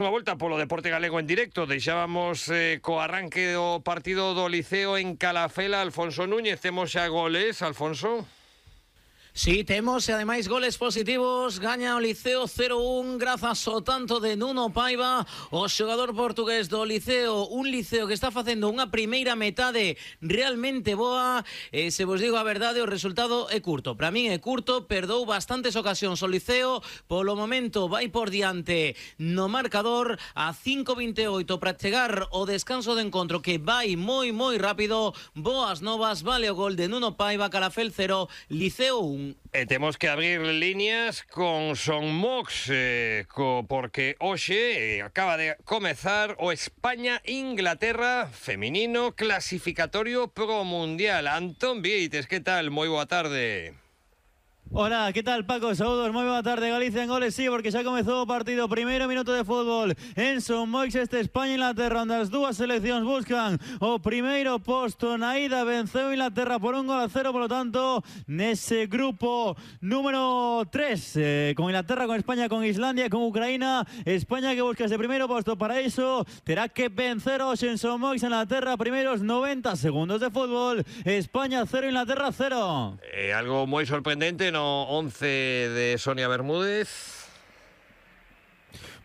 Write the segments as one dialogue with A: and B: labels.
A: Unha volta polo deporte galego en directo. Deixábamos co arranque do partido do Liceo en Calafela. Alfonso Núñez, temos xa goles, Alfonso?
B: Sí, temos e ademais goles positivos. Gaña o Liceo 0-1 grazas ao tanto de Nuno Paiva, o xogador portugués do Liceo. Un Liceo que está facendo unha primeira metade realmente boa. Se vos digo a verdade, o resultado é curto. Para min é curto, perdou bastantes ocasións o Liceo. Polo momento vai por diante no marcador a 5:28 para chegar o descanso de encontro, que vai moi rápido. Boas novas, vale o gol de Nuno Paiva. Calafel 0, Liceo 1.
A: Temos que abrir líneas con Son Mox, porque hoxe acaba de comezar o España-Inglaterra feminino clasificatorio pro Mundial. Antón Vieites, que tal? Moi boa tarde.
C: Hola, ¿qué tal, Paco? Saludos, muy buena tarde. Galicia en goles, sí, porque xa comezou o partido. Primeiro minuto de fútbol en Son Moix, España-Inglaterra, onde as dúas seleccións buscan o primeiro posto. Na ida venceu Inglaterra por 1-0, por lo tanto, nese grupo número 3, con Inglaterra, con España, con Islandia, con Ucraína. España que busca ese primeiro posto, para iso terá que vencer hoxe en Son Moix. Inglaterra, primeiros 90 segundos de fútbol. España 0, Inglaterra 0.
A: Algo moi sorprendente no 11 de Sonia Bermúdez.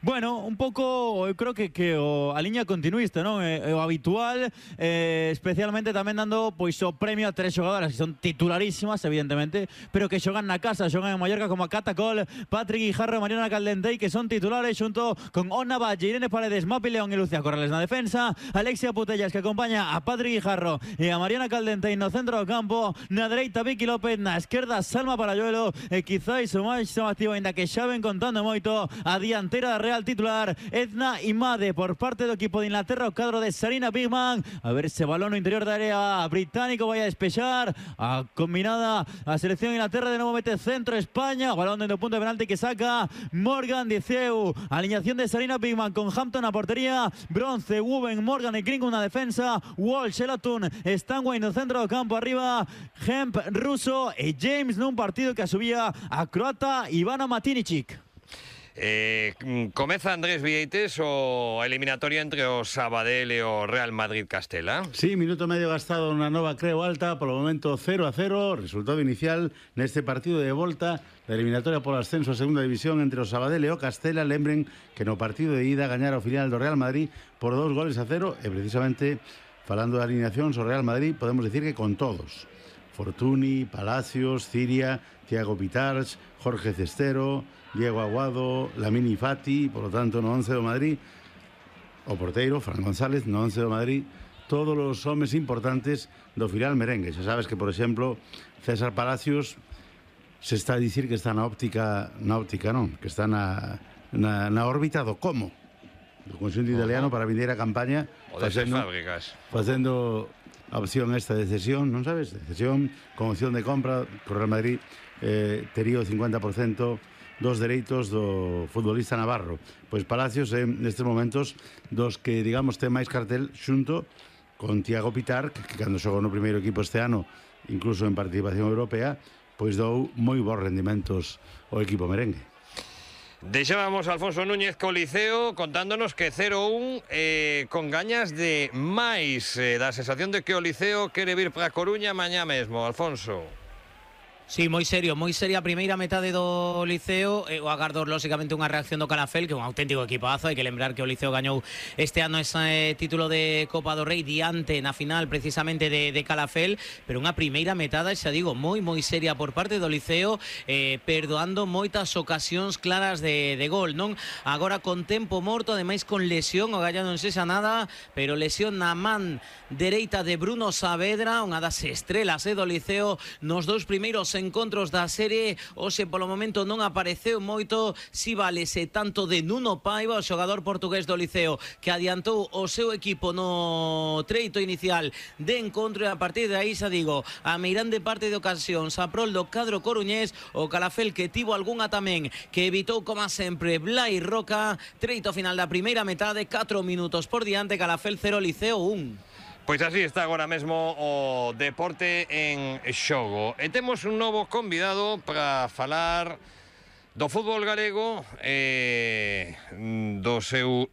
C: Bueno, un pouco, eu creo que a liña continuista, non? O habitual, especialmente tamén dando pois o premio a tres xogadoras que son titularísimas, evidentemente, pero que xogan na casa, xogan en Mallorca, como a Cata Col, Patrick Guijarro, Mariana Caldentey, que son titulares xunto con Ona Valle, Irene Paredes, Mapi León e Lucía Corrales na defensa, Alexia Putellas, que acompaña a Patrick Guijarro e a Mariana Caldentey no centro do campo, na dereita Vicky López, na esquerda Salma Paralluelo e quizáis o máis chamativo, ainda que xa ven contando moito, a dianteira da Real titular Edna Imade por parte do equipo de Inglaterra, o cadro de Sarina Bigman. A ver ese balón no interior da área británico, vai a despexar a combinada a selección de Inglaterra, de novo mete centro España, o balón dentro do punto de penalti que saca Morgan Diceu. Alineación de Sarina Bigman con Hampton a portería, Bronce, Wuben, Morgan e Gringo na defensa, Walsh, Elatun, Stanway no centro do campo, arriba Hemp, Russo e James nun partido que asubía a croata Ivana Matinicic.
A: Comeza Andrés Vieites o eliminatoria entre o Sabadell e o Real Madrid Castela.
D: Sí, minuto medio gastado na nova Creo Alta, polo momento 0-0, resultado inicial neste partido de volta da eliminatoria polo ascenso a segunda división entre o Sabadell e o Castela. Lembren que no partido de ida gañara o final do Real Madrid por 2-0 e precisamente falando de alineacións, o Real Madrid podemos decir que con todos: Fortuny, Palacios, Ciria, Thiago Pitarch, Jorge Cestero, Diego Aguado, Lamini Fati, por lo tanto no 11 do Madrid, o porteiro Fran González no 11 do Madrid, todos os homes importantes do final merengue. Xa sabes que, por exemplo, César Palacios se está a dicir que está na óptica non, que está na órbita do como do conxunto italiano para vindeira a campaña,
A: o de fábricas
D: facendo a opción esta de cesión, non sabes? De cesión con opción de compra. O Real Madrid tería o 50% dos dereitos do futbolista navarro. Pois Palacios nestes momentos dos que, digamos, ten máis cartel xunto con Thiago Pitar, que cando xogou no primeiro equipo este ano, incluso en participación europea, pois dou moi bons rendimentos ao equipo merengue.
A: Deixábamos a Alfonso Núñez co Liceo contándonos que 0-1 con gañas de máis, da sensación de que o Liceo quere vir para Coruña mañá mesmo, Alfonso.
B: Sí, moi seria a primeira metade do Liceo. O agardo, lóxicamente, unha reacción do Calafel, que é un auténtico equipazo. Hai que lembrar que o Liceo gañou este ano ese título de Copa do Rei diante na final precisamente de Calafel, pero unha primeira metade, xa digo, moi seria por parte do Liceo, perdoando moitas ocasións claras de gol, non? Agora con tempo morto, ademais con lesión, o Gallá non sexa nada, pero lesión na man dereita de Bruno Saavedra, unha das estrelas do Liceo nos dous primeiros encontros da serie. Hoxe polo momento non apareceu moito, si valese tanto de Nuno Paiva, o xogador portugués do Liceo, que adiantou o seu equipo no treito inicial de encontro, e a partir de aí, xa digo, a meirande parte de ocasións a prol do cadro coruñés. O Calafel que tivo algunha tamén que evitou, como sempre, Blai Roca. Treito final da primeira metade, 4 minutos por diante, Calafel 0, Liceo 1.
A: Pois así está agora mesmo o deporte en xogo. E temos un novo convidado para falar do fútbol galego, do seu